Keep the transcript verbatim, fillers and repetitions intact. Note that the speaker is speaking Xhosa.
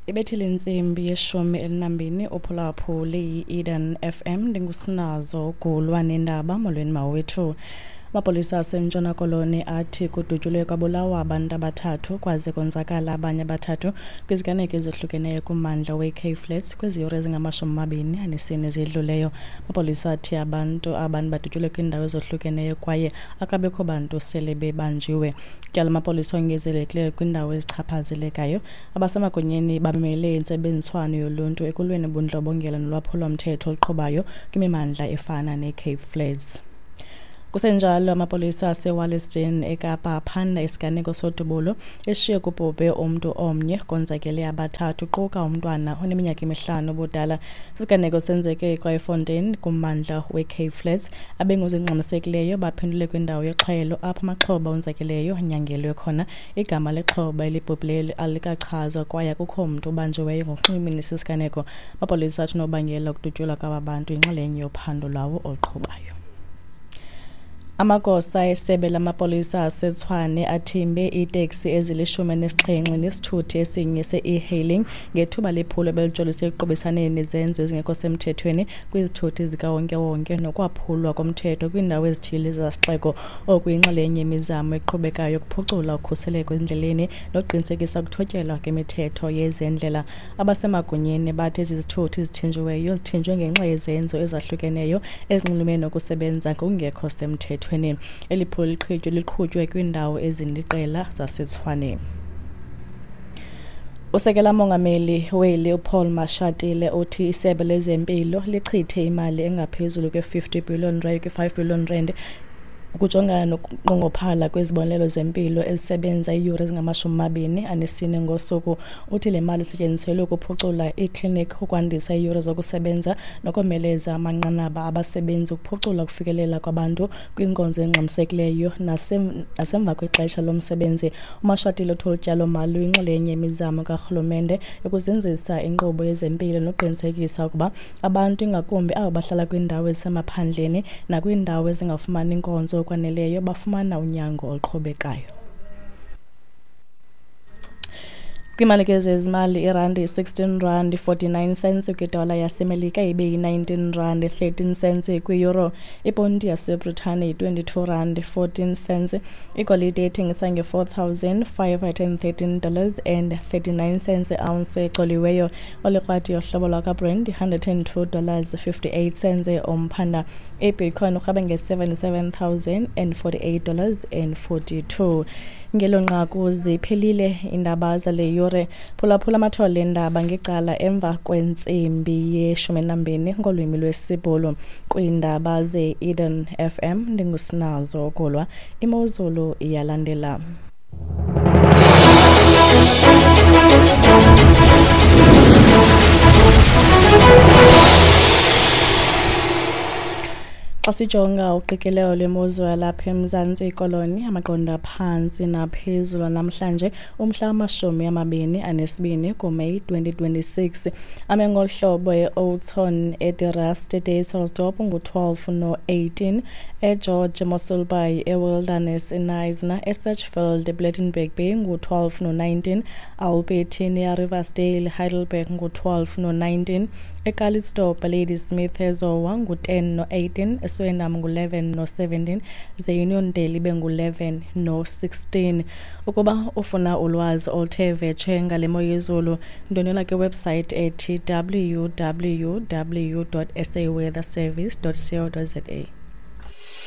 Ibethile intsimbi yeshumi elinambini uphulaphuli yi-Eden F M, ndingusinazo Gulwa nendaba. Molweni mawethu. Amapolisa aseNtshona Koloni athi kudutyulwe kwabulawa abantu abathathu kwaze konzakala abanye abathathu kwiziganeko ezihlukeneyo kummandla we-Cape Flats kwezi yure ezingamashumi amabini anesine ezidluleyo. Amapolisa athi abantu abantu badutyulwe kwiindawo ezohlukeneyo kwaye akabikho bantu sele bebanjiwe. Tyala amapolisa ongezelekileyo kwiindawo ezichaphazelekayo. Abasemagunyeni bamele intsebenziswano yoluntu ekulweni ubundlobongela nolwaphulomthetho oluqhubayo kwimimandla efana ne-Cape Flats. Kusenjalo, amapolisa aseWalliston eKapa aphanda isiganeko sodubulo eshiye kubhubhe umntu omnye konzakele abathathu quka umntwana oneminyaka emihlanu ubudala. Isiganeko senzeke eKraaifontein kummandla weCape Flats. Abengozi engxamisekileyo baphendule kwindawo yexhwayelo apho amaxhoba onzakeleyo anyangelwe khona. Igama lexhoba elibhubhileyo alikachazwa kwaye akukho mntu ubanjiweyo ngokunxulumene nesi siganeko. Amapolisa athi unobangela wokudutyulwa kwaba bantu yinxalenye yophando lwawo oluqhubayo. Amagosa esebe lamapolisa aseTshwane athimbe iiteksi ezilishumi nesixhenxe nesithuthi esinye se-e-hailing ngethuba lephulo belijolise ekuqubisaneni nezenzo ezingekho semthethweni kwizithuthi zikawonkewonke nokwaphulwa komthetho kwiindawo ezithile zesixeko. Oku yinxalenye yemizamo eqhubekayo yokuphucula ukhuseleko ezindleleni nokuqinisekisa ukuthotyelwa kwemithetho yezendlela. Abasemagunyeni bathi ezi zithuthi zithinjiweyo zithinjwe ngenxa yezenzo ezahlukeneyo ezinxulumene nokusebenza ngokungekho semthethweni. Eli phulo liqhutywe liqhutywe kwiindawo eziliqela zaseTshwane. Usekela mongameli weli uPaul Mashatile uthi isebe lezempilo lichithe imali engaphezulu kwe-fifty billion rand, kwi-five billion rand ukujongana nokunqongophala kwezibonelelo zempilo ezisebenza iiyure ezingamashumi amabini anesine ngosuku. Uthi le mali isetyenziselwe ukuphucula iikliniki, ukwandisa iiyure zokusebenza nokomeleza amanqanaba abasebenzi, ukuphucula ukufikelela kwabantu kwinkonzo engxamisekileyo nasemva kwexesha lomsebenzi. UMashatile uthi olu tyalomali luyinxalenye yemizamo karhulumente yokuzinzisa inkqubo yezempilo nokuqinisekisa ukuba abantu, ingakumbi abo bahlala kwiindawo ezisemaphandleni nakwiindawo ezingafumani nkonzo okwaneleyo, bafumana unyango oluqhubekayo. Kwiimali ke zezimali, irandi yi-sixteen rand forty-nine cents kwidola yaseMelika, ibe yi-nineteen rand thirteen cents kwi-euro. Iponti yaseBritane yi-twenty-two rand fourteen cents. Igolide ithengisa nge-four thousand five hundred and thirteen dollars and thirty-nine cents ounce ecoliweyo. Olikrwati yohlobo lwakwaBrent yi-hundred and two dollars fifty-eight cents umphanda. IBitcoin urhweba nge-seventy-seven thousand and forty-eight dollars and forty-two. Ngelo nqaku ziphelile iindaba zale yure. Phulaphula amathole eendaba ngecala emva kwentsimbi yeshumi nambini ngolwimi lwesiBhulu. Kwiindaba ze-Eden F M ndingusinazo Gulwa. Imozulu iyalandela. Xa sijonga uqikelelo lwemozulu yalapha eMzantsi Koloni, amaqondo aphantsi naphezulu namhlanje umhla wamashumi amabini anesibini kuMeyi twenty twenty-six. Ame ngolu hlobo e-Oudtshoorn, eDe-Rust, eDysselsdorp ngu-twelve no-eighteen, eGeorge Mossel Bay, eWilderness, eKnysna, eSedgefield, ePlettenberg Bay ngu-twelve no-nineteen, Albertinia, Riversdale, Heidelberg ngu-twelve no-nineteen, eCalitzdorp, Ladysmith, eZowa ngu-ten no-eighteen, eSwellendam ngu-eleven no-seventeen, ze-Uniondale ibe ngu-eleven no-sixteen. Ukuba ufuna ulwazi oluthe vetshe ngale mo yezulu, ndwendwela kwiwebsite ethi w w w dot s a weather service dot co dot z a.